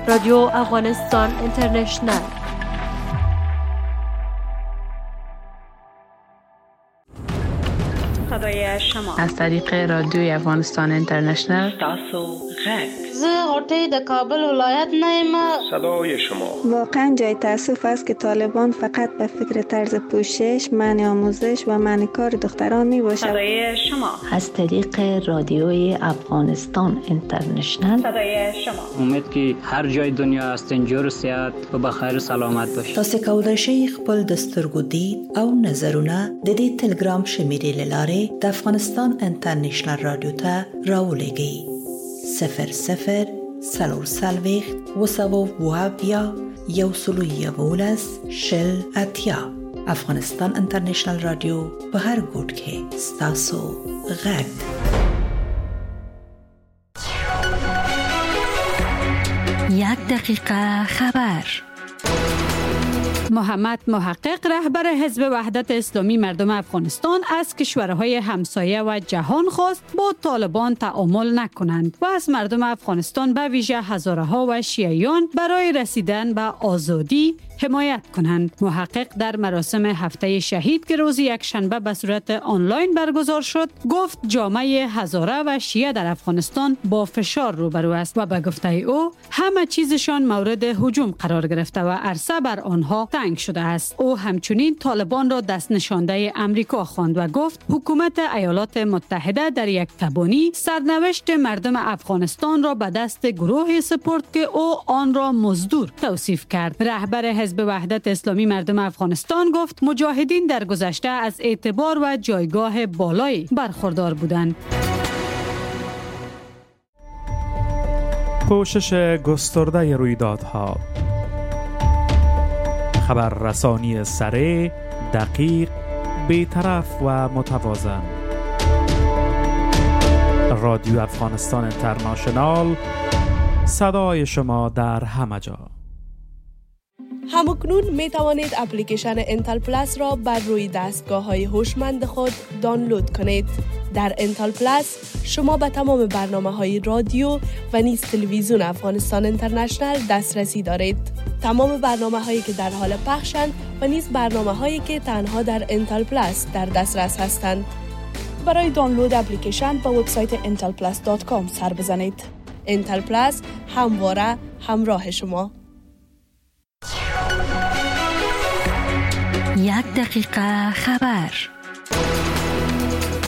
رادیو افغانستان اینترنشنال. صدای شما از طریق رادیوی افغانستان اینترنشنال. تاسو غږ. زه غوټۍ د کابل ولایت نه یم. صدای شما. واقعا جای تاسف است که طالبان فقط به فکر طرز پوشش، منع آموزش و منع کار دختران می باشد. صدای شما از طریق رادیوی افغانستان اینترنشنال. صدای شما. امید که هر جای دنیا هستین جور صحت و بخیر و سلامت باشید. تاسو کولای شئ خپل د سترګو دید او نظرونه د دې تلګرام شمیرې له لارې د افغانستان انټرنشنل رادیو ته راولېږئ. 00 44 270 111 80. افغانستان انټرنشنل رادیو په هر ګوټ کې ستاسو غږ. یک دقیقه خبر. محمد محقق رهبر حزب وحدت اسلامی مردم افغانستان از کشورهای همسایه و جهان خواست با طالبان تعامل نکنند و از مردم افغانستان به ویژه هزاره‌ها و شیعیان برای رسیدن به آزادی حمایت کنند. محقق در مراسم هفته شهید که روز یکشنبه به صورت آنلاین برگزار شد گفت جامعه هزاره و شیعه در افغانستان با فشار روبرو است و به گفته او همه چیزشان مورد هجوم قرار گرفته و عرصه بر آنها تنگ شده است. او همچنین طالبان را دست نشانده امریکا خواند و گفت حکومت ایالات متحده در یک تبانی سرنوشت مردم افغانستان را به دست گروهی سپرد که او آن را مزدور توصیف کرد. رهبر حزب وحدت اسلامی مردم افغانستان گفت مجاهدین در گذشته از اعتبار و جایگاه بالایی برخوردار بودند. پوشش گسترده رویدادها، خبررسانی سریع، دقیق، بی‌طرف و متوازن. رادیو افغانستان اینترنشنال، صدای شما در همه جا. همکنون می توانید اپلیکیشن انتل پلاس را بر روی دستگاه های هوشمند خود دانلود کنید. در انتل پلاس شما به تمام برنامه های رادیو و نیز تلویزیون افغانستان اینترنشنال دسترسی دارید. تمام برنامه هایی که در حال پخشند و نیز برنامه هایی که تنها در انتل پلاس در دسترس هستند. برای دانلود اپلیکیشن به وبسایت intelplus.com سر بزنید. انتل پلاس همواره همراه شما. یک دقیقه خبر.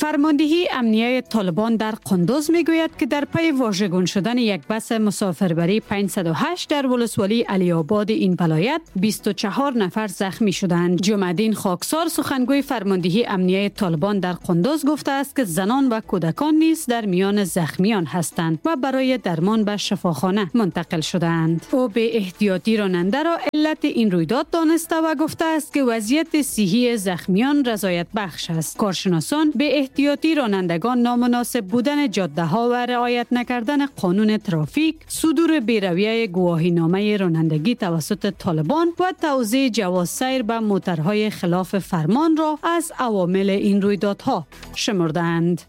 فرماندهی امنیه طالبان در قندوز میگوید که در پی واژگون شدن یک بس مسافربری 508 در ولسوالی علی آباد این ولایت 24 نفر زخمی شدند. جمعدین خاکسار سخنگوی فرماندهی امنیه طالبان در قندوز گفته است که زنان و کودکان نیز در میان زخمیان هستند و برای درمان به شفاخانه منتقل شدند. او به احتیاطی راننده را علت این رویداد دانسته و گفته است که وضعیت صحی زخمیان رضایت بخش است. کارشناسان به احتیاطی رانندگان، نامناسب بودن جاده ها و رعایت نکردن قانون ترافیک، صدور بی‌رویه گواهینامه رانندگی توسط طالبان و توزیع جواز سیر به موترهای خلاف فرمان را از عوامل این رویدادها شمردند.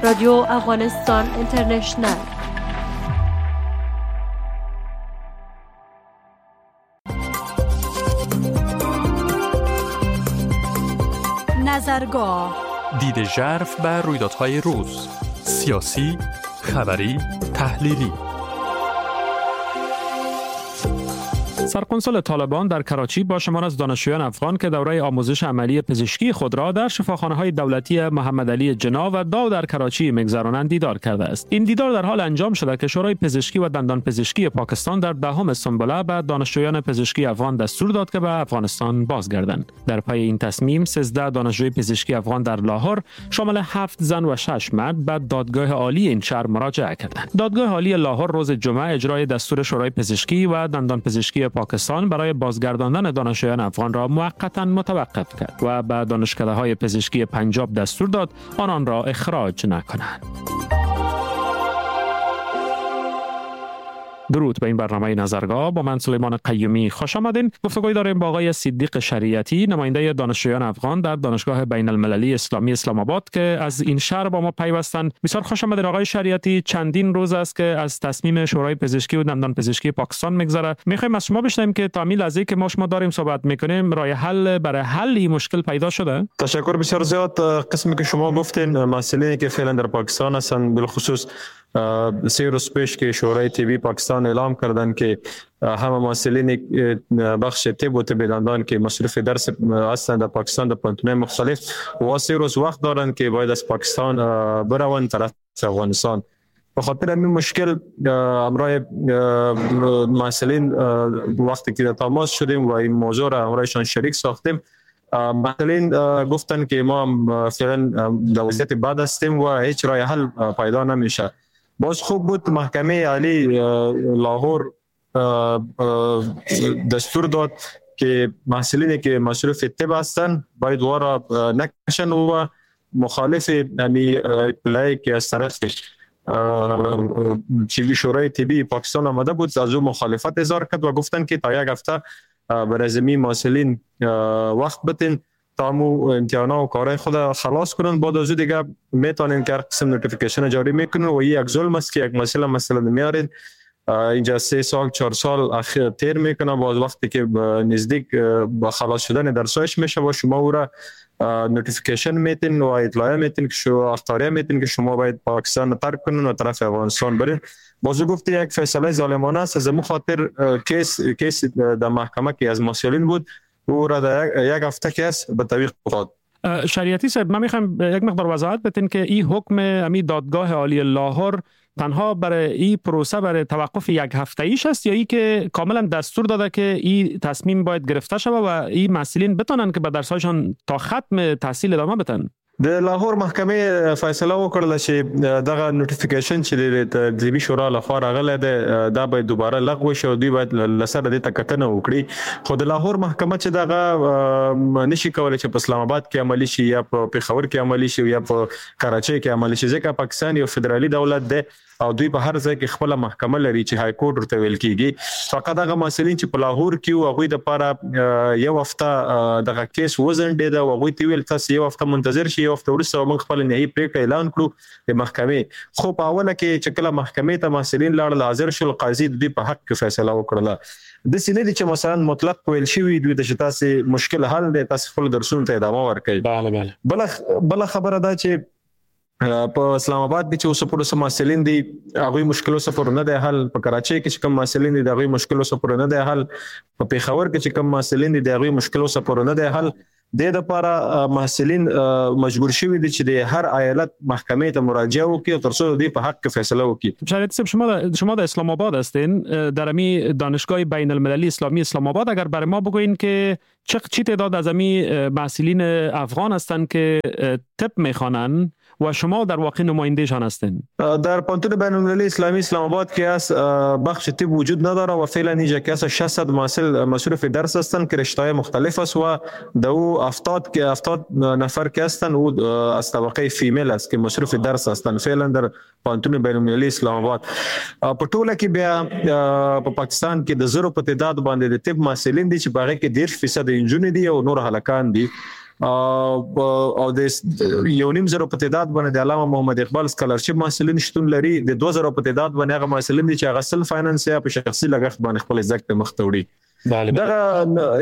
رادیو افغانستان اینترنشنال. نظرگاه، دید ژرف بر رویدادهای روز، سیاسی، خبری، تحلیلی. سرکنسول طالبان در کراچی با شمار از دانشجویان افغان که دوره آموزش عملی پزشکی خود را در شفاخانه‌های دولتی محمد علی جناح و داو در کراچی می‌گذرانند دیدار کرده است. این دیدار در حال انجام شده که شورای پزشکی و دندان پزشکی پاکستان در دهم سنبله به دانشجویان پزشکی افغان دستور داد که به افغانستان بازگردند. در پی این تصمیم 13 دانشجوی پزشکی افغان در لاهور شامل 7 زن و 6 مرد به دادگاه عالی این شهر مراجعه کردند. دادگاه عالی لاهور روز جمعه اجرای دستور شورای پزشکی و دندان پزشکی پاکستان برای بازگرداندن دانشجویان افغان را موقتاً متوقف کرد و به دانشکده‌های پزشکی پنجاب دستور داد آنان را اخراج نکنند. درود به این برنامه نظرگاه، با من سلیمان قیومی خوش آمدین. گفتگوی داریم با آقای صدیق شریعتی، نماینده دانشجویان افغان در دانشگاه بین المللی اسلامی اسلام آباد که از این شهر با ما پیوستند. بسیار خوش آمدین آقای شریعتی. چندین روز است که از تصمیم شورای پزشکی و دندان پزشکی پاکستان میگذره. میخوایم از شما بشنویم که تا همین لحظه که ما شما داریم صحبت میکنیم راه حل برای حل این مشکل پیدا شده؟ تشکر بسیار زیاد. قسمی که شما گفتین، مسئله که فعلا در پاکستان هستند، بالخصوص 3 روز پیش که شورای طبی پاکستان اعلام کردند که همه محصلین بخش طب و طب دندان که مصروف درس هستند در پاکستان در پوهنتون‌های مختلف و 3 روز وقت دارند که باید از پاکستان بروند طرف افغانستان. به خاطر همین مشکل همراه محصلین وقتی که در تماس شدیم و این موضوع را همراهشان شریک ساختیم، محصلین گفتن که ما فعلا در وضعیت بد هستیم و هیچ راه حل پیدا نمیشه. باز خوب بود محکمه عالی لاهور دستور داد که محصلینی که مصروف طب هستند باید وارا نکشن و مخالف همی اطلاعی که از طرف شورای طبی پاکستان آمده بود از او مخالفت اظهار کرد و گفتن که تا یک هفته برای زمین محصلین وقت بتین تا مو امتحانا و کارهای خود خلاص کنن، بعد از او دیگه میتونین که هر قسم notification جاری میکنن. و یک ظلم است که یک مسئله مثلا میارین اینجا 3 سال 4 سال اخیر تیر میکنه، باز وقتی که نزدیک با خلاص شدن درسایش میشه و شما او را notification میتین و اطلاعیه میتین که شما اخطاریه میتین که شما باید پاکستان ترک کنین و طرف افغانستان برین. باز گفت یک فیصله ظالمانه است. از مو خاطر case در محکمه که از محصلین بود او را در یک هفته case به تعویق افتاد. شریعتی صاحب، من میخوام یک مقدار وضاحت بدین که این حکم امی دادگاه عالی لاهور تنها برای این پروسه برای توقف یک هفته ایش است یا ای که کاملا دستور داده که این تصمیم باید گرفته شود و این محصلین بتونن که به درسایشان تا ختم تحصیل ادامه بدن؟ د لاهور محکمې فیصله وکړه چې دغه notification چې د طبي شورا لخوا راغلی دی دا باید دوباره لغوه شي او دوی باید له سره دې ته کتنه وکړي. خو د لاهور محکمه چې دغه نشي کولی چې په اسلام آباد کې عملي شي یا په پېښور کې عملي شي یا په کراچۍ کې عملي شي، ځکه پاکستان یو فدرالي دولت دی او دوی په هر ځای کې خپله محکمه لري چې های کورټ ورته ویل کیږي. فقط هغه محصلین چې په لاهور کې وو هغوی دپاره یو هفته دغه case وځنډېده او هغوی ته ویل تاسو یو هفته منتظر شئ، یو هفته وروسته موږ خپله نهایي پرېکړه اعلان کړو د محکمې. خو په اوله کې چې کله محکمې ته محصلین لاړل حاضر شول، قاضي د دوی په حق کې فیصله وکړله. داسې نه دي چې مثلا مطلق ویل شوي دوی ته چې تاسې مشکل حل دی، تاسې خپلو درسونو ته ادامه ورکړئ. بله خبره دا چې په اسلام آباد کې چې اوس پورې څه محصلین دي هغوی مشکل اوسه پورې نه دی حل، په کراچۍ کې چې کوم محصلین دي د هغوی مشکل اوسه پورې نه دی حل، په پېښور کې چې کوم محصلین دي د هغوی مشکل اوسه پورې نه دی حل. د دې لپاره محصلین مجبور شوي دي چې د هر ایالت محکمې ته مراجعه وکړي تر څو د دوی په حق کې فیصله وکړي. شریعتی صاحب، شما در اسلام آباد هستین، در امی دانشگاه بین المللی اسلامی اسلام آباد، اگر برای ما بگوین که چه تعداد از امی محصلین افغان هستند که طب میخوانند و شما در واقع نمایندهشان هستین؟ در پوهنتون بین المللی اسلامی اسلام آباد که از بخش طب وجود نداره و فعلا اینجا که از 600 محصل مصروف درس هستند که رشته‌های مختلف است و دو 70 نفر که هستند او از طبقه female است که مصروف درس هستند فعلا در پوهنتون بین المللی اسلام آباد. په ټوله کې بیا په پاکستان کې د 0 په تعداد باندې د طب محصلین دي چې په هغې کې 30% نجونې دي او نور هلکان دي او د 1.5 زره په تعداد باندې د علامه محمد اقبال scholarship محصلین شتون لري. د 2,000 په تعداد باندې هغه محصلین دي چې هغه self finance یا په شخصي لګښت باندې خپل زده کړې مخ ته وړي. دغه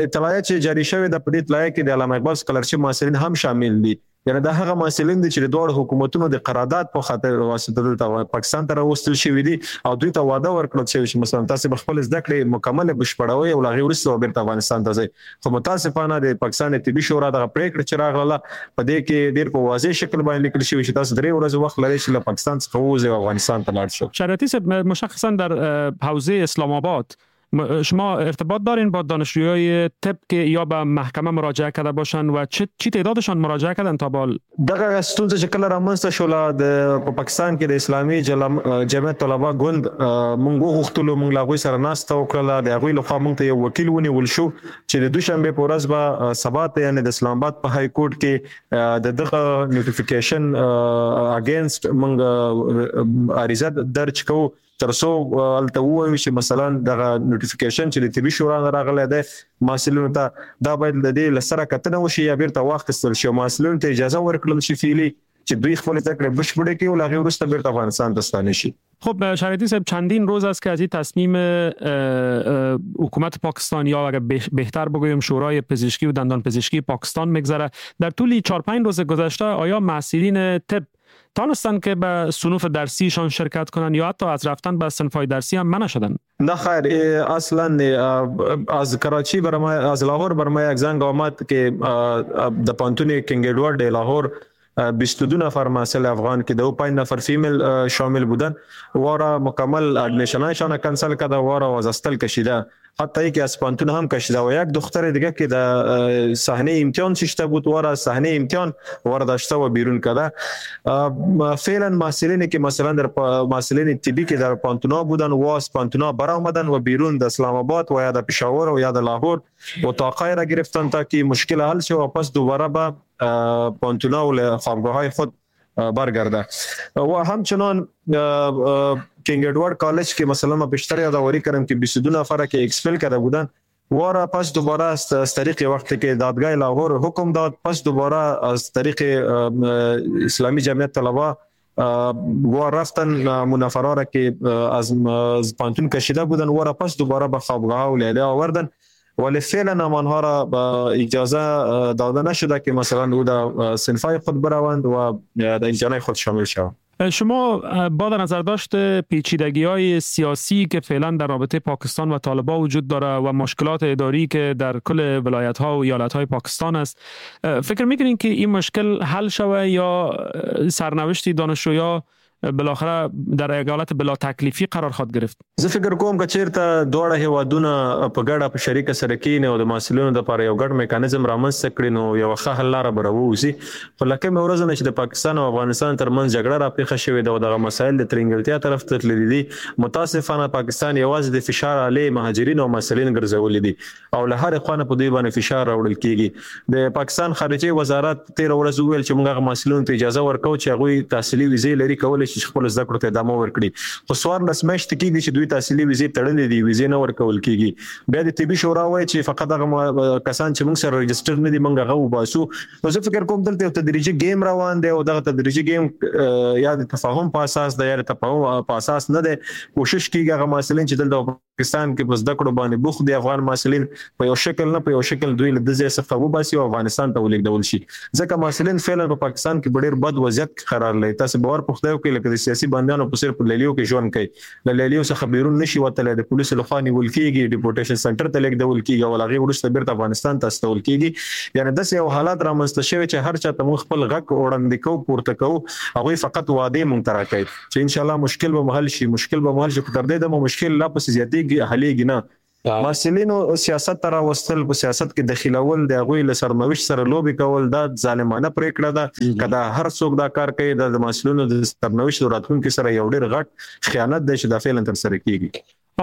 اطلاعیه چې جاری شوې ده، په دې اطلاعیه کې د علامه اقبال scholarship محصلین هم شامل دي. یعنی دا هغه محصلین دي چې د دواړو حکومتونو د قرارداد په خاطر واسطه دلته پاکستان ته راوستل شوي دي او دوی ته وعده ورکړل شوې چې مثلا تاسو به خپل زده کړې مکمله بشپړوئ او له هغې وروسته به بېرته افغانستان ته ځئ. خو متاسفانه د پاکستان طبي شورا دغه پرېکړه چې راغله په دې کې ډېر په واضح شکل باندې لیکل شوي چې تاسو 3 ورځې وخت لرئ چې له پاکستان څخه ووځئ او افغانستان ته لاړ شئ. شریعتی صاحب، مشخصا در حوزه اسلام آباد شما ارتباط دارین با دانشجوهای طب که یا به محکمه مراجعه کرده باشن و چی تعدادشان مراجعه کردن تا بال؟ دغه ستونزه چې کله رامنځته شوله د په پاکستان کې د اسلامي جمعیت طلبه ګوند مونږ وغوښتلو، مونږ له هغوی سره ناسته وکړله. د هغوی لخوا مونږ ته یو وکیل ونیول شو چې د دوشنبې په ورځ به سبا ته یعنې د اسلام آباد په های کورټ کې د دغه notification against مونږ عریضه درج کوو. تر څو هلته ووایو چې مثلا دغه نوټیفیکیشن چې د طبي شورا نه راغلی دی محصلینو ته، دا باید د دې له سره کتنه وشي یا بیرته واخیستل شي او محصلینو ته اجازه ورکړل شي فعلي چې دوی خپل زده کړې بشپړې کړي او له هغې وروسته بیرته افغانستان ته ستانه شي. خب شریعتی صاحب، چندین روز است که از این تصمیم حکومت پاکستان یا اگر بهتر بگویم شورای پزشکی و دندان پزشکی پاکستان میگذره. در طول 4-5 روز گذشته آیا محصلین طب تانستن که به صنوف درسیشان شرکت کنن یا حتی از رفتن به صنف‌های درسی هم منع شدن؟ نه خیر، اصلا از کراچی برای ما، از لاهور بر ما یک زنگ آمد که د پوهنتون کینګ ادوارد لاهور 22 نفر محصل افغان که 5 نفر female شامل بودن وارا مکمل admission ایشان کنسل کرده، وارا از hostel کشیده، حتی یکی از پوهنتون هم کشیده و یک دختر دیگه که در صحنه امتحان ششته بود وارا صحنه امتحان وارا داشته و بیرون کرده. فعلا محصلینی که مثلا در محصلین طبی که در پوهنتونا بودن و از پوهنتونا برآمدن و بیرون در اسلام آباد و یا در پشاور و یا در لاهور اتاقای را گرفتن تا که مشکل حل شه و پس دوباره به پوهنتونا و خوابگاه های خود برگرده. و همچنان کینگ ادوارد کالج که مثلا ما بیشتر یادآوری کردم که 22 نفر که expel کرده بودن وارا پس دوباره از طریق وقتی که دادگاه لاهور حکم داد، پس دوباره از طریق اسلامی جمعیت طلبه و رفتن منفرا را که از پوهنتون کشیده بودن وارا پس دوباره به خوابگاه و لیله آوردن، ولی فعلا آنها را به اجازه داده نشده که مثلا او در صنف‌های خود بروند و در امتحانات خود شامل شوند. شما با در نظر داشت پیچیدگی‌های سیاسی که فعلا در رابطه پاکستان و طالبان وجود داره و مشکلات اداری که در کل ولایت‌ها و ایالت‌های پاکستان است، فکر می‌کنین که این مشکل حل شوه یا سرنوشت دانشجویا بالاخره در ایالت بلا تکلیفی قرار خواهد گرفت؟ زه فکر کوم که چیرته دواړه هیوادونه په ګډه په شریکه سره کینې او د محصلینو لپاره یو ګډ میکانیزم رامنځته کړي نو یو ښه حل لاره به راووځي. خو له کومې ورځې نه چې د پاکستان او افغانستان ترمنځ جګړه راپېښه شوې ده او دغه مسایل د ترینګلتیا طرف ته تللي دي، متاسفانه پاکستان یوازې د فشار آلې مهاجرین او محصلین ګرځولي دي او له هرې خوا نه په دوی باندې فشار راوړل کیږي. د پاکستان خارجه وزارت تېره ورځ وویل چې موږ هغه محصلینو ته اجازه ورکوو چې هغوی تحصیلي ویزې لري، کولی شي چې خپل زده کړو ته ادامه ورکړي، خو 14 میاشتې کېږي چې دوی تحصیلي ویزې تړلې دي، ویزې نه ورکول کېږي. بیا د طبي شورا وایي چې فقط هغه کسان چې موږ سره register نه دي موږ هغه وباسو. نو زه فکر کوم دلته یو تدریجي game روان دی او دغه تدریجي game یا د تفاهم په اساس دی یا د تفاهم په اساس نه دی. کوشش کېږي هغه محصلین چې دلته پاکستان کې په زده کړو باندې بوخت دي افغان محصلین په یو شکل نه په یو شکل دوی له دې ځای څخه وباسي او افغانستان ته ولېږدول شي، ځکه محصلین فعلا په پاکستان کې په ډېر بد وضعیت کې قرار لري. تاسو باور په خدای وکړئ لکه د سیاسي بندیانو په څېر په لیلیو کې ژوند کوي، له لیلیو څخه بیرون نشي وتلی، د پولیسو لخوا نیول کېږي، deportation center ته لېږدول کېږي او له هغې وروسته بیرته افغانستان ته استول کېږي. یعنې داسې یو حالت رامنځته شوی چې هر چا ته موږ خپل غږ وړاندې کوو، پورته کوو، هغوی فقط وعدې موږ ته راکوي چې انشاءالله مشکل به مو حل شي، مشکل به مو حل شي، خو تر دې دمه مشکل لا پسې زیاتېږي، حلېږي نه. محصلینو سیاست ته راوستل، په سیاست کې دخیلول، د هغوی له سرنوشت سره لوبې کول، دا ظالمانه پرېکړه ده. که دا هر څوک دا کار کوي دا د محصلینو د سرنوشت او راتلونکي سره یو ډېر غټ خیانت دی چې دا فعلا ترسره کیږي.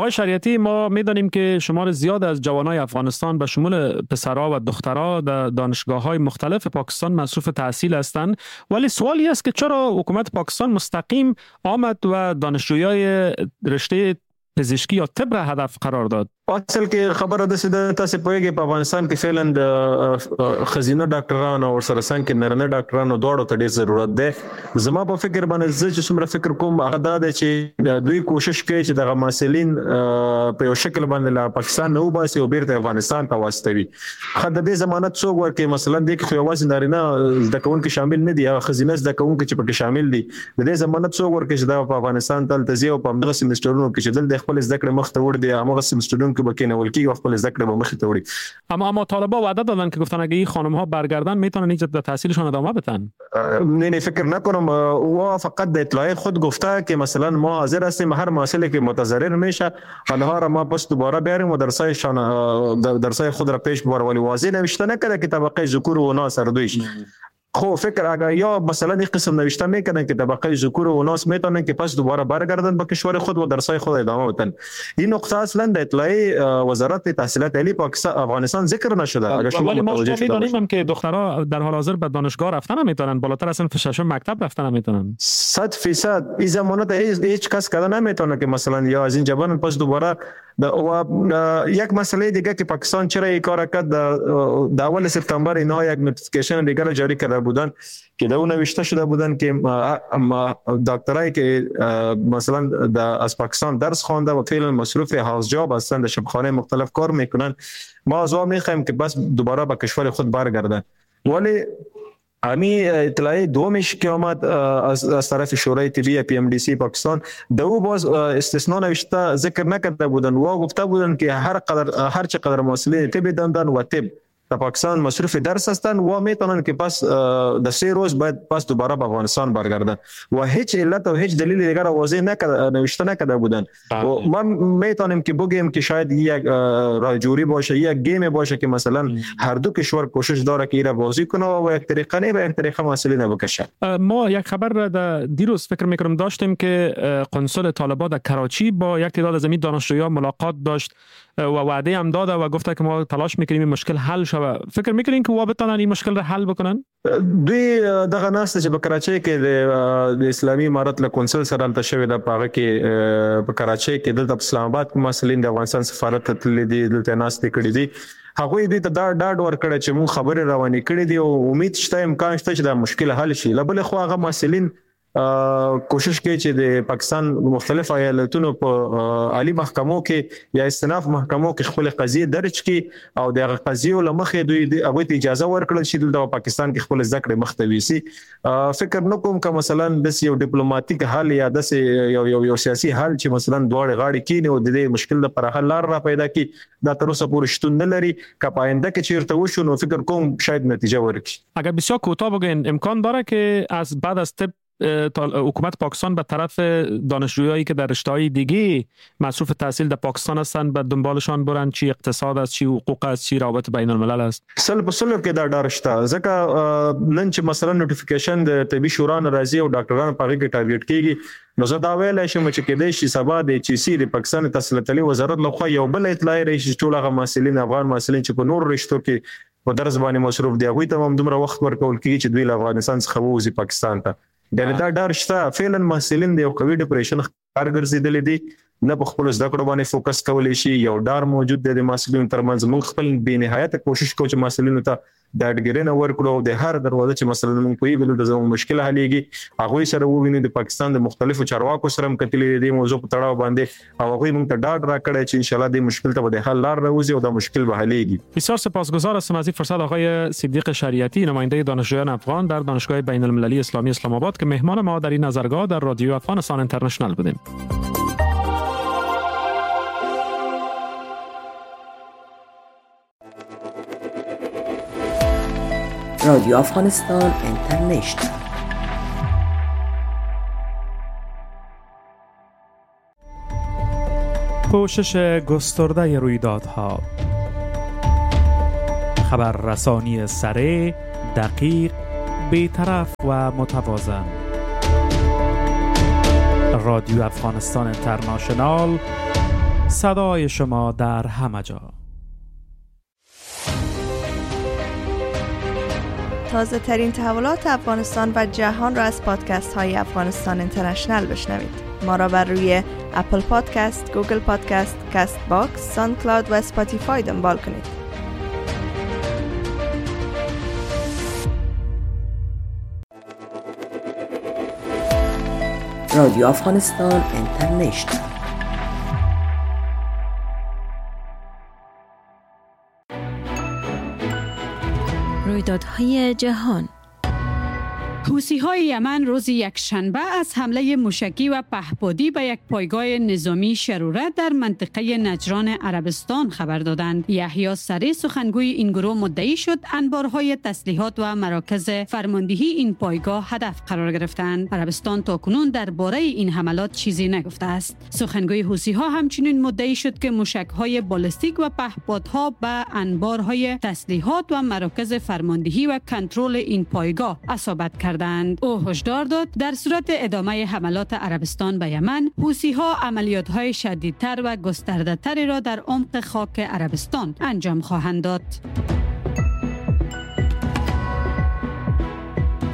آقای شریعتی، ما میدانیم که شمار زیاد از جوانای افغانستان به شمول پسرها و دخترها در دانشگاه‌های مختلف پاکستان مصروف تحصیل هستند، ولی سوالی است که چرا حکومت پاکستان مستقیم آمد و دانشجویای رشته پزشکی یا طب را هدف قرار داد؟ اصل کې خبره داسې ده، تاسې پوهېږئ په افغانستان کې فعلا د ښځینه ډاکټرانو او ورسره څنګ کې نارینه ډاکټرانو دواړو ته ډېر ضرورت دی. زما په فکر باندې زه چې څومره فکر کوم هغه دا دی چې دوی کوشش کوي چې دغه محصلین په یو شکل باندې له پاکستان نه وباسي او بیرته افغانستان ته واستوي. ښه د دې ضمانت څوک ورکوي؟ مثلا دې کې خو یوازې نارینه زده کوونکي شامل نه دي، هغه ښځینه زده کوونکي چې پکې شامل دي، د دې ضمانت څوک ورکوي چې دا په افغانستان ته هلته ځي او په همدغه سمسټرونو کې چې دلته خپل زده کړې مخ ته وړي دي، همغه سمسټرونو که بکینول کیږي او خپل زده کړې به مخ ته وړي. اما طالبا وعده دادن که گفتن اگه این خانم ها برگردن میتونن اینجا در تحصیلشان ادامه بدن. نه فکر نکنم. او فقط د اطلاع خود گفته که مثلا ما حاضر هستیم هر محصلی که متضرر میشه آنها را ما پس دوباره بیاریم و درسای خود را پیش ببریم، ولی واضح نوشته نکرده که طبقه ذکور و اناث هر دویش. خو فکر اگر یا مثلا این قسم نوشته میکنن که طبقه ذکور و اناث میتونن که پس دوباره برگردن به کشور خود و درسای خود ادامه بدن. این نقطه اصلا در اطلاعیه وزارت تحصیلات عالی پاکستان افغانستان ذکر نشده. اگر شما متوجه شده میدونیم هم که دخترها در حال حاضر به دانشگاه رفتن نمیتونن، بالاتر از صنف ششم مکتب رفتن نمیتونن. 100% این زمانت هیچ کس کده نمیتونه که مثلا یا از این جبان پس دوباره. و یک مسئله دیگه که پاکستان چرا این کار کرد، در اول سپتامبر اینها یک notification دیگه را جاری کرده بودن که در اون نوشته شده بودن که دکترایی که مثلا از پاکستان درس خوانده و فعلا مصروف house job هستند، در شبخانه مختلف کار میکنن، ما از او میخوایم که بس دوباره به کشور خود برگردن. ولی امی اطلاعیه دومش که آمد از طرف شورای طبی PMDC پاکستان، دو باز استثناء نوشته ذکر نکرده بودن و گفته بودن که هر چقدر محصلین طب دندان و طب در پاکستان مصروف درس هستند و میتونن که پس در 3 روز بعد پس دوباره به افغانستان برگردن و هیچ علت و هیچ دلیل دیگر واضح نکرده، نوشته نکرده بودن. و ما میتونیم که بگیم که شاید یک راجوری باشه، یک گیم باشه که مثلا هر دو کشور کوشش داره که ایرا بازی کنه و یک طریقه نه به یک طریقه مسئله نبکشه. ما یک خبر را در دیروز فکر میکنم داشتیم که قنصل طالبان در کراچی با یک تعداد از این دانشجویان ملاقات داشت و وعده هم داده و گفته که ما تلاش میکنیم این مشکل حل شود. فکر میکنین که وا بتونن این مشکل را حل بکنن؟ دوی دغه ناسته چې په کراچۍ کې د اسلامي امارت له کونسل سره هلته شوې ده، په هغه کې په کراچۍ کې دلته په اسلام آباد کې محصلین د افغانستان سفارت ته تللي دي، دلته ناستې کړې دي. هغوی دوی ته دا ډاډ ورکړی چې موږ خبرې روانې کړې دي او امید شته، امکان شته چې دا مشکل حل شي. له بلې خوا هغه محصلین کوشش کوي چې د پاکستان مختلف ایالتونو په عالی محکمو کې یا استناف محکمو کې خپل قضیه درج کړي او د هغه قضیو له مخې دوی هغوی ته اجازه ورکړل شي دلته پاکستان کې خپل زده کړې مخته ویسي. فکر نه کوم که مثلا داسې یو ډیپلوماټیک حل یا داسې یو یو سیاسي حل چې مثلا دواړې غاړې کینې او د دې مشکل لپاره حل لار را پیدا کړي، دا تر اوسه پورې شتون نه لري. که په آینده کې چیرته وشو نو فکر کوم شاید نتیجه ورکړي. اگر بسیار کوتاه بگین، امکان داره که از بعد از طب حکومت پاکستان به طرف دانشجویایی که در رشته‌های دیگه مصروف تحصیل در پاکستان هستند به دنبالشان برن، چی اقتصاد است، چی حقوق است، چی روابط بین الملل است؟ سل په سلو کې دا ډار شته، ځکه نن چې مثلا notification د طبي شورا نه راځي او ډاکټران په هغې کې target کیږي، نو زه دا ویلی شم چې کېدای شي سبا د HEC د پاکستان تحصیلات عالي وزارت لخوا یو بل اطلاع راشي چې ټول هغه محصلین، افغان محصلین چې په نورو رشتو کې په درس باندې مصروف دي، هغوی ته هم دومره وخت ورکول کیږي چې دوی له افغانستان څخه ووځي پاکستان ته. یعنی دا ډار شته. فعلا محصلین د یو قوي depression ښکار ګرځېدلي دي، نه په خپلو زده کړو باندې focus کولی شي، یو ډار موجود دی د محصلینو ترمنځ. موږ خپل بې نهایته کوشش کوو چې محصلینو ته ډاډګیرنه ورکړو او د هر دروازه چې مثلا موږ پوهېږو دلته زموږ مشکل حلېږي هغوی سره ووینو. د پاکستان د مختلفو چارواکو سره هم کتلي دي دې موضوع په تړاو باندې او هغوی موږ ته ډاډ راکړی چې انشاءالله دې مشکل ته به د حل لار راوځي او دا مشکل به حلېږي. بسیار سپاسگزار هستم از این فرصت آقای صدیق شریعتی، نماینده دانشجویان افغان در دانشگاه بین المللی اسلامی اسلام آباد که مهمان ما در این نظرگاه در رادیو افغانستان اینترنشنال بودیم. رادیو افغانستان اینترنشنال. پوشش گسترده رویدادها، خبررسانی سریع، دقیق، بی‌طرف و متوازن. رادیو افغانستان اینترنشنال، صدای شما در همه جا. تازه ترین تحولات افغانستان و جهان را از پادکست های افغانستان اینترنشنال بشنوید. ما را بر روی Apple Podcast، Google Podcast، Castbox، SoundCloud و Spotify دنبال کنید. رادیو افغانستان اینترنشنال. رویدادهای جهان. حوثی‌های یمن روز یکشنبه از حمله موشکی و پهپادی به یک پایگاه نظامی شروره در منطقه نجران عربستان خبر دادند. یحیی سری سخنگوی این گروه مدعی شد انبارهای تسلیحات و مراکز فرماندهی این پایگاه هدف قرار گرفتند. عربستان تاکنون درباره این حملات چیزی نگفته است. سخنگوی حوثی‌ها همچنین مدعی شد که موشک‌های بالستیک و پهپادها به انبارهای تسلیحات و مراکز فرماندهی و کنترل این پایگاه اصابت کردند. او هشدار داد در صورت ادامه حملات عربستان به یمن، حوثی‌ها عملیات‌های شدیدتر و گسترده‌تری را در عمق خاک عربستان انجام خواهند داد.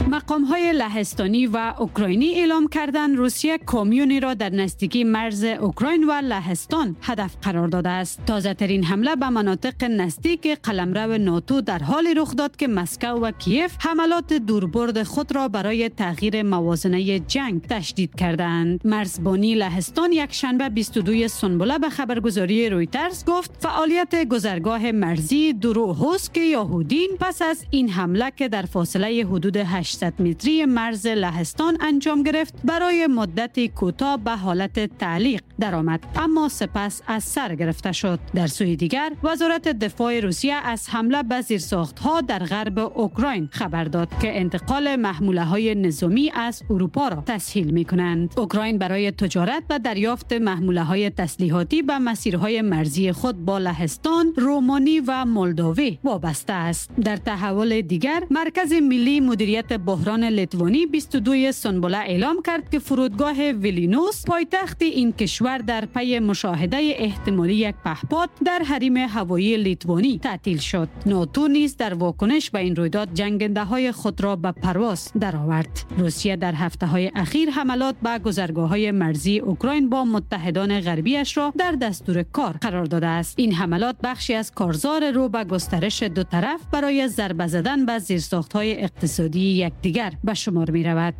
مقام‌های لهستانی و اوکراینی اعلام کردند روسیه کامیونی را در نزدیکی مرز اوکراین و لهستان هدف قرار داده است. تازه‌ترین حمله به مناطق نزدیک قلمرو ناتو در حال رخ داد که مسکو و کیف حملات دوربرد خود را برای تغییر موازنه جنگ تشدید کردند. مرزبانی لهستان یکشنبه 22 سنبله به خبرگزاری رویترز گفت فعالیت گذرگاه مرزی دروهوسک یهودین پس از این حمله که در فاصله حدود 800 متری مرز لهستان انجام گرفت برای مدت کوتاه به حالت تعلیق درآمد، اما سپس از سر گرفته شد. در سوی دیگر وزارت دفاع روسیه از حمله به زیرساخت‌ها در غرب اوکراین خبر داد که انتقال محموله‌های نظامی از اروپا را تسهیل می‌کنند. اوکراین برای تجارت و دریافت محموله‌های تسلیحاتی به مسیرهای مرزی خود با لهستان، رومانی و مولداوی وابسته است. در تحول دیگر، مرکز ملی مدیریت بحران لیتوانی 22 سنبله اعلام کرد که فرودگاه ویلینوس پایتخت این کشور در پی مشاهده احتمالی یک پهپاد در حریم هوایی لیتوانی تعطیل شد. ناتو نیز در واکنش به این رویداد جنگنده‌های خود را به پرواز درآورد. روسیه در هفته‌های اخیر حملات به گذرگاه‌های مرزی اوکراین با متحدان غربیش را در دستور کار قرار داده است. این حملات بخشی از کارزار رو به گسترش دو طرف برای ضربه زدن به زیرساخت‌های اقتصادی یکدیگر به شمار می رود.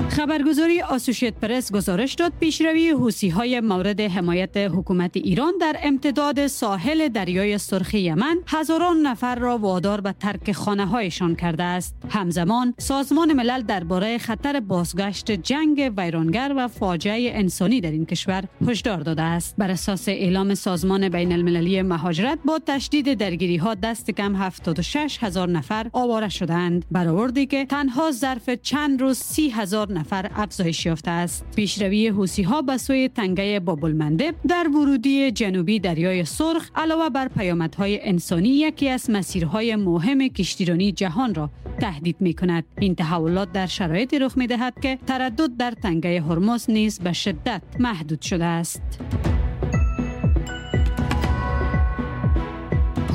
خبرگزاری آسوشیت پرس گزارش داد پیشروی حوثی‌های مورد حمایت حکومت ایران در امتداد ساحل دریای سرخ یمن هزاران نفر را وادار به ترک خانه‌هایشان کرده است. همزمان سازمان ملل درباره خطر بازگشت جنگ ویرانگر و فاجعه انسانی در این کشور هشدار داده است. بر اساس اعلام سازمان بین المللی مهاجرت با تشدید درگیری‌ها دست کم 76,000 نفر آواره شدند، برآوردی که تنها ظرف چند روز 30,000 نفر افزایش یافته است. پیشروی حوثی‌ها به سوی تنگه باب‌المندب در ورودی جنوبی دریای سرخ علاوه بر پیامدهای انسانی یکی از مسیرهای مهم کشتیرانی جهان را تهدید می‌کند. این تحولات در شرایطی رخ می‌دهد که تردد در تنگه هرمز نیز به شدت محدود شده است.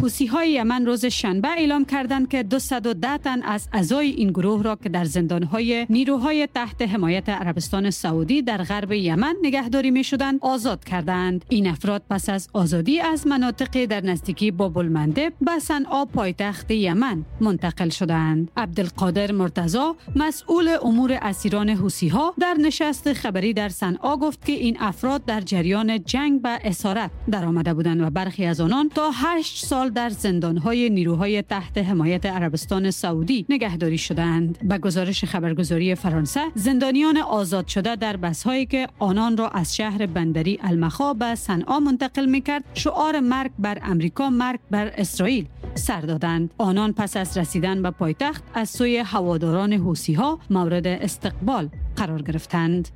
حوثی‌های یمن روز شنبه اعلام کردند که 210 تن از اعضای این گروه را که در زندان‌های نیروهای تحت حمایت عربستان سعودی در غرب یمن نگهداری می‌شدند آزاد کردند. این افراد پس از آزادی از مناطق در نزدیکی باب‌المندب به صنعا پایتخت یمن منتقل شدند. عبدالقادر مرتضی مسئول امور اسیران حوثی‌ها در نشست خبری در صنعا گفت که این افراد در جریان جنگ به اسارت درآمده بودند و برخی از آنان تا 8 سال در زندان‌های نیروهای تحت حمایت عربستان سعودی نگهداری شدند. به گزارش خبرگزاری فرانسه، زندانیان آزاد شده در بس‌هایی که آنان را از شهر بندری المخا به صنعا منتقل می‌کرد، شعار مرگ بر امریکا، مرگ بر اسرائیل سر دادند. آنان پس از رسیدن به پایتخت از سوی هواداران حوثی‌ها مورد استقبال قرار گرفتند.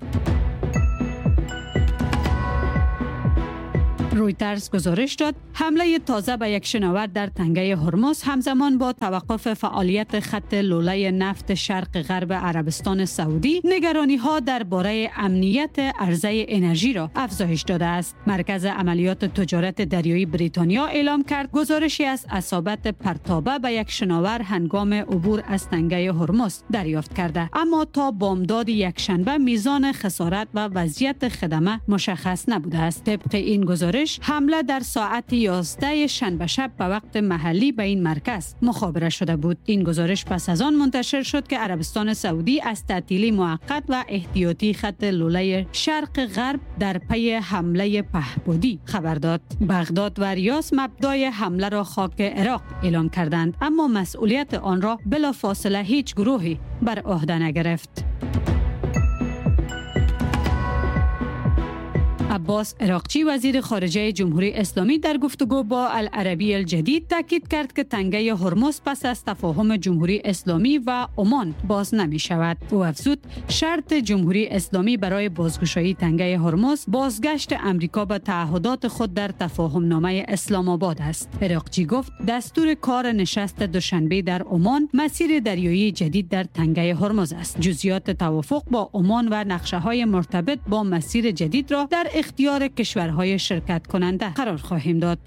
رویترز گزارش داد حمله تازه به یک شناور در تنگه هرمز همزمان با توقف فعالیت خط لوله نفت شرق غرب عربستان سعودی نگرانی‌ها درباره امنیت عرضه انرژی را افزایش داده است. مرکز عملیات تجارت دریایی بریتانیا اعلام کرد گزارشی از اصابت پرتابه به یک شناور هنگام عبور از تنگه هرمز دریافت کرده، اما تا بامداد یکشنبه میزان خسارت و وضعیت خدمه مشخص نبوده است. طبق این گزارش گزارش، حمله در ساعت 11 شنبه شب به وقت محلی به این مرکز مخابره شده بود. این گزارش پس از آن منتشر شد که عربستان سعودی از تعطیلی موقت و احتیاطی خط لوله شرق غرب در پی حمله پهپادی خبر داد. بغداد و ریاض مبدای حمله را خاک عراق اعلام کردند، اما مسئولیت آن را بلافاصله هیچ گروهی بر عهده نگرفت. عباس عراقچی، وزیر خارجه جمهوری اسلامی، در گفتگو با العربی الجدید تاکید کرد که تنگه هرمز پس از تفاهم جمهوری اسلامی و عمان باز نمی شود. او افزود شرط جمهوری اسلامی برای بازگشایی تنگه هرمز بازگشت امریکا به تعهدات خود در تفاهم نامه اسلام آباد است. عراقچی گفت دستور کار نشست دوشنبه در عمان مسیر دریایی جدید در تنگه هرمز است. جزئیات توافق با عمان و نقشه های مرتبط با مسیر جدید را در اختیار کشورهای شرکت کننده قرار خواهیم داد.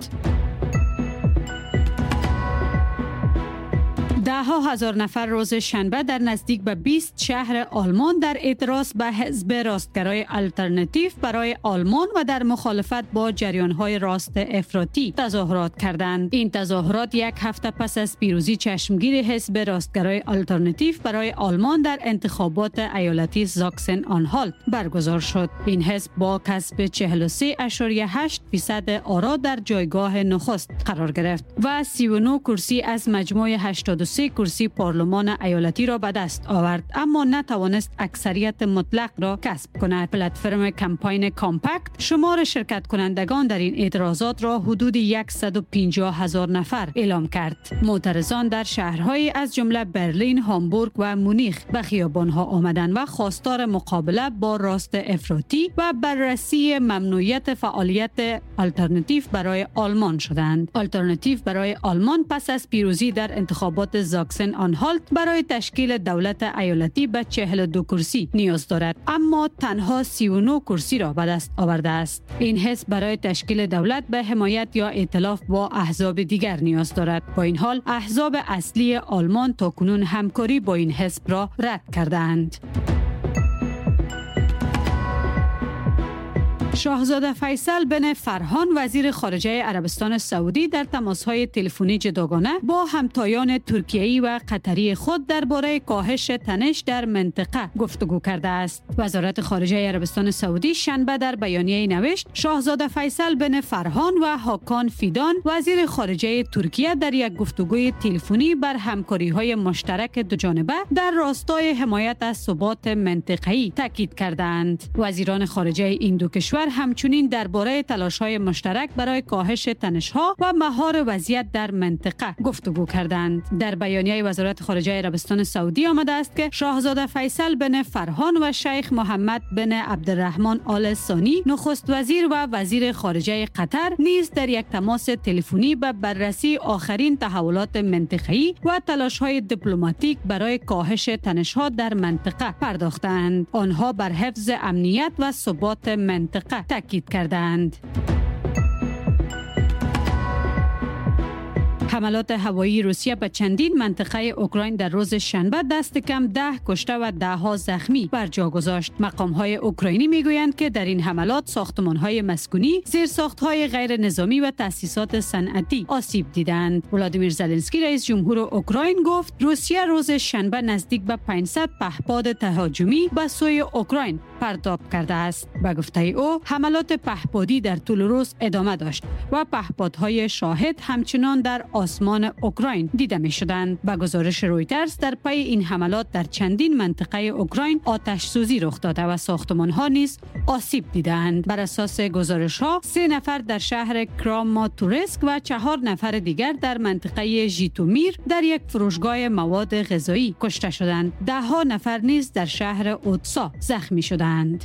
ده ها هزار نفر روز شنبه در نزدیک به 20 شهر آلمان در اعتراض به حزب راستگرای آلترناتیو برای آلمان و در مخالفت با جریان‌های راست افراطی تظاهرات کردند. این تظاهرات یک هفته پس از پیروزی چشمگیر حزب راستگرای آلترناتیو برای آلمان در انتخابات ایالتی زاکسن آنهالت برگزار شد. این حزب با کسب 43.8% آرا در جایگاه نخست قرار گرفت و 39 کرسی از مجموع 83 کرسی پارلمان ایالتی را به دست آورد، اما نتوانست اکثریت مطلق را کسب کند. پلتفرم کمپاین کامپکت شمار شرکت کنندگان در این اعتراضات را حدود 150,000 نفر اعلام کرد. معترضان در شهرهای از جمله برلین، هامبورگ و مونیخ به خیابانها آمدند و خواستار مقابله با راست افراطی و بررسی ممنوعیت فعالیت آلترناتیو برای آلمان شدند. آلترناتیو برای آلمان پس از پیروزی در انتخابات زاکسن آنهالت برای تشکیل دولت ایالتی به 42 کرسی نیاز دارد، اما تنها 39 کرسی را به دست آورده است. این حزب برای تشکیل دولت به حمایت یا ائتلاف با احزاب دیگر نیاز دارد. با این حال احزاب اصلی آلمان تاکنون همکاری با این حزب را رد کردند. شاهزاده فیصل بن فرهان، وزیر خارجه عربستان سعودی، در تماس‌های تلفنی جداگانه با همتایان ترکیه‌ای و قطری خود درباره کاهش تنش در منطقه گفتگو کرده است. وزارت خارجه عربستان سعودی شنبه در بیانیه‌ای نوشت شاهزاده فیصل بن فرهان و هاکان فیدان، وزیر خارجه ترکیه، در یک گفتگوی تلفنی بر همکاری‌های مشترک دوجانبه در راستای حمایت از ثبات منطقه‌ای تاکید کردند. وزیران خارجه این دو کشور همچنین درباره تلاش‌های مشترک برای کاهش تنش‌ها و مهار وضعیت در منطقه گفتگو کردند. در بیانیه وزارت خارجه عربستان سعودی آمده است که شاهزاده فیصل بن فرهان و شیخ محمد بن عبدالرحمن آل ثانی، نخست وزیر و وزیر خارجه قطر، نیز در یک تماس تلفنی به بررسی آخرین تحولات منطقه‌ای و تلاش‌های دیپلماتیک برای کاهش تنش‌ها در منطقه پرداختند. آنها بر حفظ امنیت و ثبات منطقه تاکید کردند. حملات هوایی روسیه به چندین منطقه اوکراین در روز شنبه دست کم 10 کشته و ده ها زخمی بر جا گذاشت. مقام‌های اوکراینی میگویند که در این حملات ساختمان‌های مسکونی، زیرساخت‌های غیر نظامی و تأسیسات صنعتی آسیب دیدند. ولادیمیر زلنسکی، رئیس جمهور اوکراین، گفت روسیه روز شنبه نزدیک به 500 پهپاد تهاجمی به سوی اوکراین پرتاب کرده است. به گفته او حملات پهپادی در طول روز ادامه داشت و پهپادهای شاهد همچنان در آسمان اوکراین دیده می شدند. به گزارش رویترز در پی این حملات در چندین منطقه اوکراین آتش سوزی رخ داده و ساختمان ها نیز آسیب دیدند. بر اساس گزارش ها 3 نفر در شهر کراماتورسک و 4 نفر دیگر در منطقه ژیتومیر در یک فروشگاه مواد غذایی کشته شدند. ده ها نفر نیز در شهر اودسا زخمی شدند.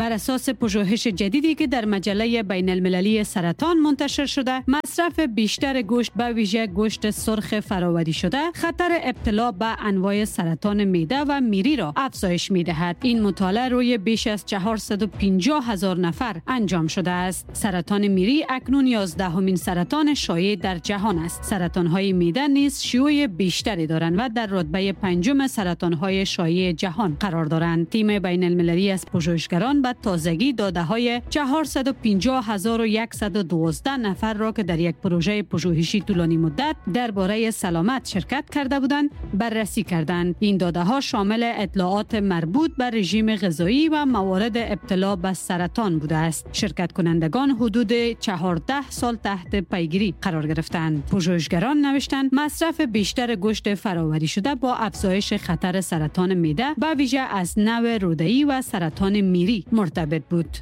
بر اساس پژوهش جدیدی که در مجله بین المللی سرطان منتشر شده، مصرف بیشتر گوشت به ویژه گوشت سرخ فراوری شده خطر ابتلا به انواع سرطان معده و میری را افزایش می‌دهد. این مطالعه روی بیش از 450,000 نفر انجام شده است. سرطان میری اکنون 11مین سرطان شایع در جهان است. سرطان‌های معده نیز شیوع بیشتری دارند و در رتبه 5 سرطان‌های شایع جهان قرار دارند. تیم بین المللی از پژوهشگران به تازگی داده‌های 450,112 نفر را که در یک پروژه پژوهشی طولانی مدت درباره سلامت شرکت کرده بودند بررسی کردند. این داده‌ها شامل اطلاعات مربوط به رژیم غذایی و موارد ابتلا به سرطان بوده است. شرکت کنندگان حدود 14 سال تحت پیگیری قرار گرفتند. پژوهشگران نوشتند مصرف بیشتر گوشت فراوری شده با افزایش خطر سرطان معده به ویژه از نوع روده‌ای و سرطان میری مرتبط بود.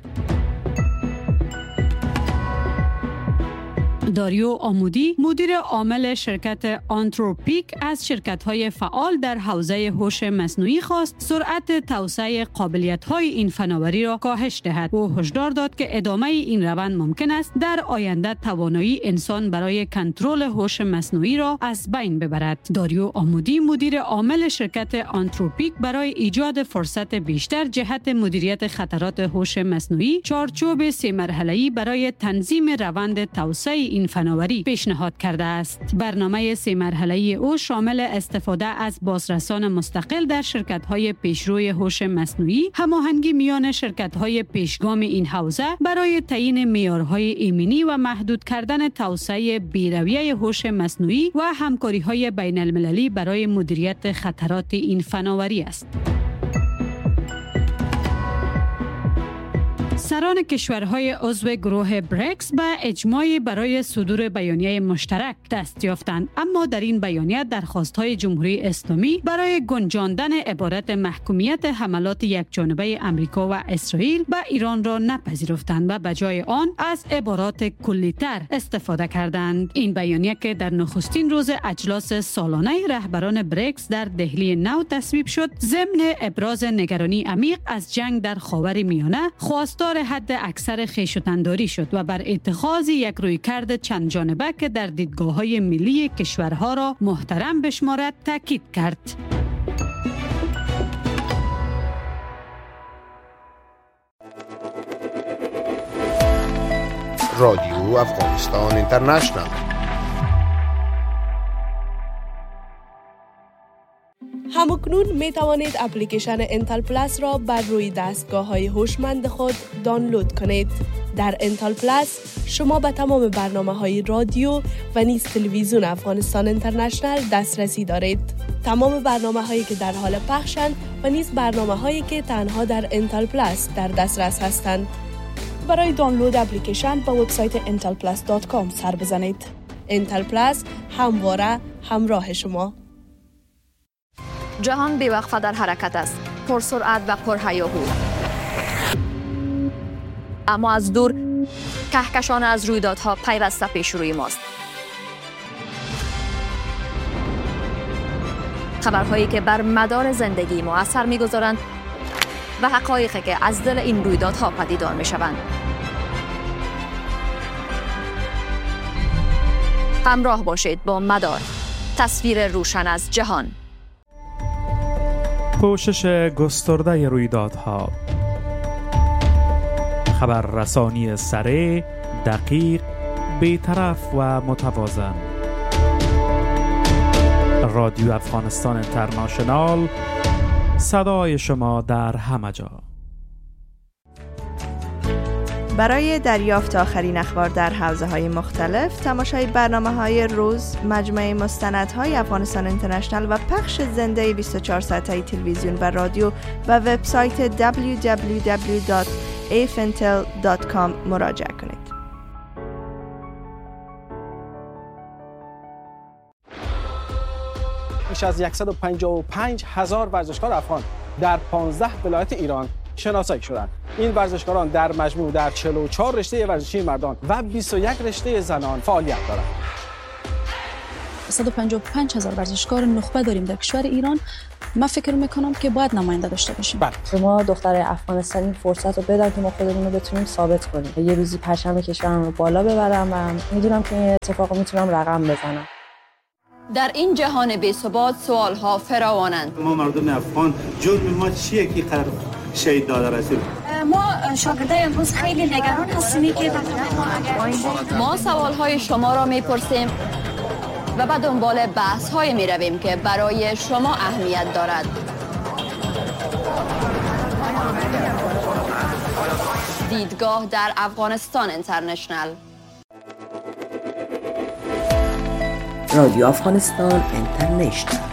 داریو آمودی، مدیر عامل شرکت آنتروپیک، از شرکت‌های فعال در حوزه هوش مصنوعی خواست سرعت توسعه قابلیت‌های این فناوری را کاهش دهد. او هشدار داد که ادامه این روند ممکن است در آینده توانایی انسان برای کنترل هوش مصنوعی را از بین ببرد. داریو آمودی، مدیر عامل شرکت آنتروپیک، برای ایجاد فرصت بیشتر جهت مدیریت خطرات هوش مصنوعی، چارچوب 3 مرحله‌ای برای تنظیم روند توسعه این فناوری پیشنهاد کرده است. برنامه 3 مرحله‌ای او شامل استفاده از بازرسان مستقل در شرکت‌های پیشروی هوش مصنوعی، هماهنگی میان شرکت‌های پیشگام این حوزه برای تعیین معیارهای ایمنی و محدود کردن توسعه بی‌رویه هوش مصنوعی و همکاری‌های بین‌المللی برای مدیریت خطرات این فناوری است. سران کشورهای عضو گروه بریکس به اجماع برای صدور بیانیه مشترک دست یافتند، اما در این بیانیه درخواست‌های جمهوری اسلامی برای گنجاندن عبارت محکومیت حملات یکجانبه امریکا و اسرائیل به ایران را نپذیرفتند و به جای آن از عبارات کلی‌تر استفاده کردند. این بیانیه که در نخستین روز اجلاس سالانه رهبران بریکس در دهلی نو تصویب شد، ضمن ابراز نگرانی عمیق از جنگ در خاورمیانه، خواستار حد اکثر خویشتن‌داری شد و بر اتخاذ یک رویکرد چند جانبه که در دیدگاه‌های ملی کشورها را محترم بشمارد تاکید کرد. رادیو افغانستان اینترنشنال. همکنون می توانید اپلیکیشن انتل پلاس را بر روی دستگاه های هوشمند خود دانلود کنید. در انتل پلاس شما به تمام برنامه های رادیو و نیز تلویزیون افغانستان اینترنشنال دسترسی دارید. تمام برنامه هایی که در حال پخشند و نیز برنامه هایی که تنها در انتل پلاس در دسترس هستند. برای دانلود اپلیکیشن به وبسایت intelplus.com سر بزنید. انتل پلاس همواره همراه شما. جهان بیوقفه در حرکت است، پرسرعت و پرهیاهو. اما از دور کهکشان از رویدادها پیوسته پیش روی ماست. خبرهایی که بر مدار زندگی ما اثر می‌گذارند و حقایقی که از دل این رویدادها پدیدار می‌شوند. همراه باشید با مدار، تصویر روشن از جهان. پوشش گسترده رویدادها، خبررسانی سریع، دقیق، بی‌طرف و متوازن. رادیو افغانستان اینترنشنال، صدای شما در همه جا. برای دریافت آخرین اخبار در حوزه‌های مختلف، تماشای برنامه‌های روز، مجموعه مستندهای افغانستان اینترنشنال و پخش زنده 24 ساعته تلویزیون و رادیو و وبسایت www.afintel.com مراجعه کنید. بیش از 155,000 ورزشکار افغان در 15 ولایت ایران شناسایی شدند. این ورزشکاران در مجموع در 44 رشته ورزشی مردان و 21 رشته زنان فعالیت دارند. 155 هزار ورزشکار نخبه داریم در کشور ایران. من فکر میکنم که باید نماینده داشته باشیم. ما دختر افغانستانی این فرصت رو بدن که ما خودمون رو بتونیم ثابت کنیم. یه روزی پرچم کشورم رو بالا ببرم و میدونم که این اتفاق رو میتونم رقم بزنم. در این جهان بی‌ثبات سوال‌ها فراوانند. ما مردم افغان جرم ما چیه که قرار شهید داده رسید؟ ما شاگردای امروز خیلی نگران هستیم که ما سوال‌های شما را می‌پرسیم و به دنبال بحث‌های می‌رویم که برای شما اهمیت دارد. دیدگاه در افغانستان اینترنشنال. رادیو افغانستان اینترنشنال.